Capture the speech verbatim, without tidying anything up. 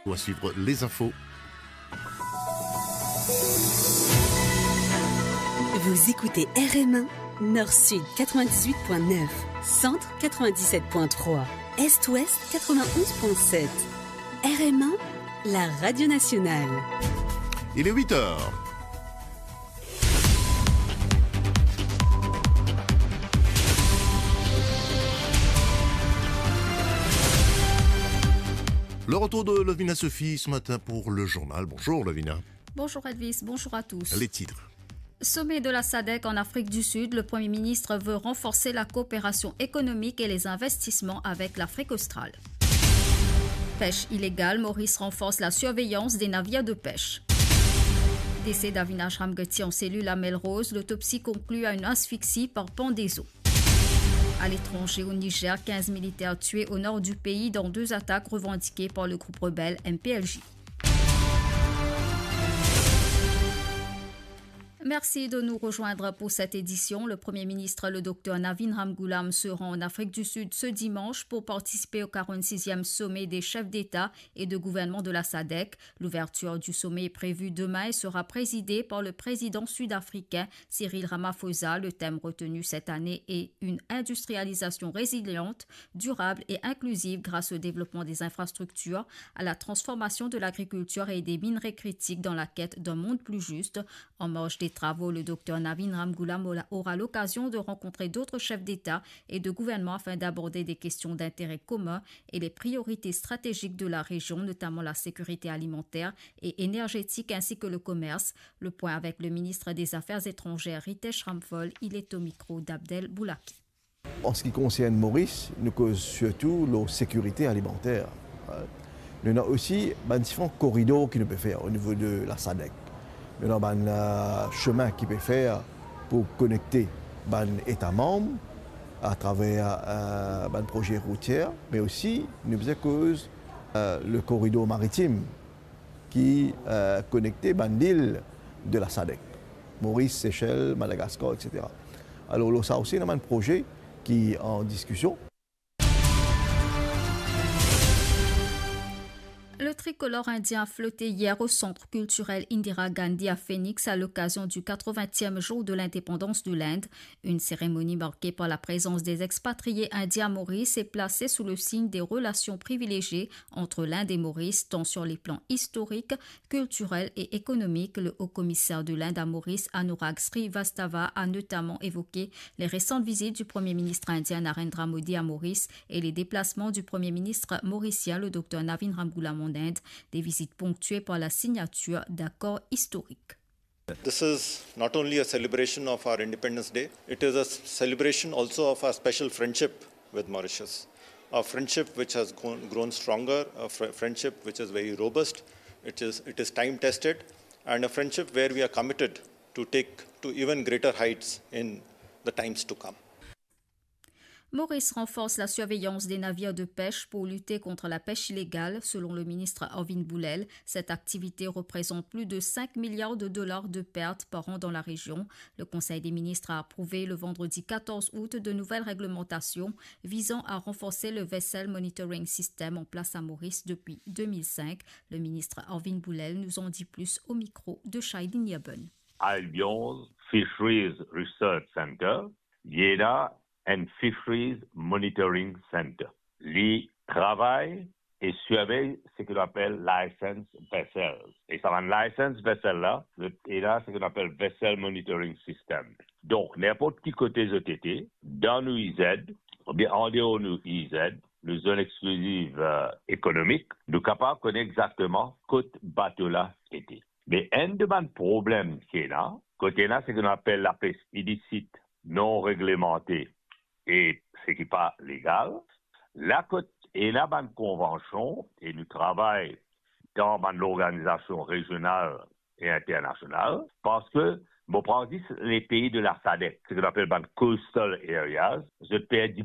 Ou à suivre les infos. Vous écoutez R M un, Nord-Sud quatre-vingt-dix-huit point neuf, Centre quatre-vingt-dix-sept point trois, Est-Ouest quatre-vingt-onze point sept. R M un, la radio nationale. Il est huit heures. Le retour de Lovina Sophie ce matin pour le journal. Bonjour Lovina. Bonjour Elvis, bonjour à tous. Les titres. Sommet de la sadec en Afrique du Sud, le Premier ministre veut renforcer la coopération économique et les investissements avec l'Afrique australe. Pêche illégale, Maurice renforce la surveillance des navires de pêche. Décès d'Avinash Ramgoti en cellule à Melrose, l'autopsie conclut à une asphyxie par pendaison. À l'étranger, au Niger, quinze militaires tués au nord du pays dans deux attaques revendiquées par le groupe rebelle M P L J. Merci de nous rejoindre pour cette édition. Le Premier ministre, le docteur Navin Ramgoolam, se rend en Afrique du Sud ce dimanche pour participer au quarante-sixième sommet des chefs d'État et de gouvernement de la sadec. L'ouverture du sommet est prévue demain et sera présidée par le président sud-africain Cyril Ramaphosa. Le thème retenu cette année est une industrialisation résiliente, durable et inclusive grâce au développement des infrastructures, à la transformation de l'agriculture et des minerais critiques dans la quête d'un monde plus juste. En marge des travaux, le docteur Navin Ramgoolam aura l'occasion de rencontrer d'autres chefs d'État et de gouvernement afin d'aborder des questions d'intérêt commun et les priorités stratégiques de la région, notamment la sécurité alimentaire et énergétique ainsi que le commerce. Le point avec le ministre des Affaires étrangères, Ritesh Ramphal, il est au micro d'Abdel Boulaki. An seki konsern Moris, nou koz sirtou lor sekirite alimanter. Nou ena osi bann diferan koridor ki nou pe fer o nivo de la sadec. Nou ena bann, eh, semin ki pe fer pou konekte bann eta manm atraver, eh, bann proze routier, me osi nou bizin koz, eh, le koridor maritim ki, eh, konekte bann lil de la sadec, Moris, Sesel, Madagaskar, et cetera. Alor, lor sa osi, ena bann proze ki an diskision. Le tricolore indien a flotté hier au Centre culturel Indira Gandhi à Phoenix à l'occasion du quatre-vingtième jour de l'indépendance de l'Inde. Une cérémonie marquée par la présence des expatriés indiens à Maurice et placée sous le signe des relations privilégiées entre l'Inde et Maurice, tant sur les plans historiques, culturel et économique. Le haut-commissaire de l'Inde à Maurice, Anurag Srivastava, a notamment évoqué les récentes visites du Premier ministre indien Narendra Modi à Maurice et les déplacements du Premier ministre mauricien, le docteur Navin Ramgoolam, en Inde, des visites ponctuées par la signature d'accords historiques. This is not only a celebration of our Independence Day, it is a s-, celebration also of our special friendship with Mauritius. A friendship which has grown, grown stronger, a fr-, friendship which is very robust, it is, it is time tested, and a friendship where we are committed to take to even greater heights in the times to come. Maurice renforce la surveillance des navires de pêche pour lutter contre la pêche illégale. Selon le ministre Arvind Boulel, cette activité représente plus de cinq milliards de dollars de pertes par an dans la région. Le Conseil des ministres a approuvé le vendredi quatorze août de nouvelles réglementations visant à renforcer le Vessel Monitoring System en place à Maurice depuis deux mille cinq. Le ministre Arvind Boulel nous en dit plus au micro de Shailin Yaben. Albion Fisheries Research Center, li ena enn Fisheries Monitoring Center. Li travay e sirvey seki nou apel license vessels. E sa bann license vessel la, zot ena seki nou apel Vessel Monitoring System. Donk, ninport ki kote zot ete, dan nou ized, oubien andeor nou ized, nou zone exkliziv, eh, ekonomik, nou kapav kone exakteman kot bato la ete. Me enn de bann problem ki ena, kot ena seki nou apel lapes ilisit, non reglemante e seki pa legal, la kot ena bann konvansion e nou travay dan bann lorganizasion rezional e internasional, parski, bon, pran zis lepei de la sadec, seki nou apel bann coastal areas, zot perdi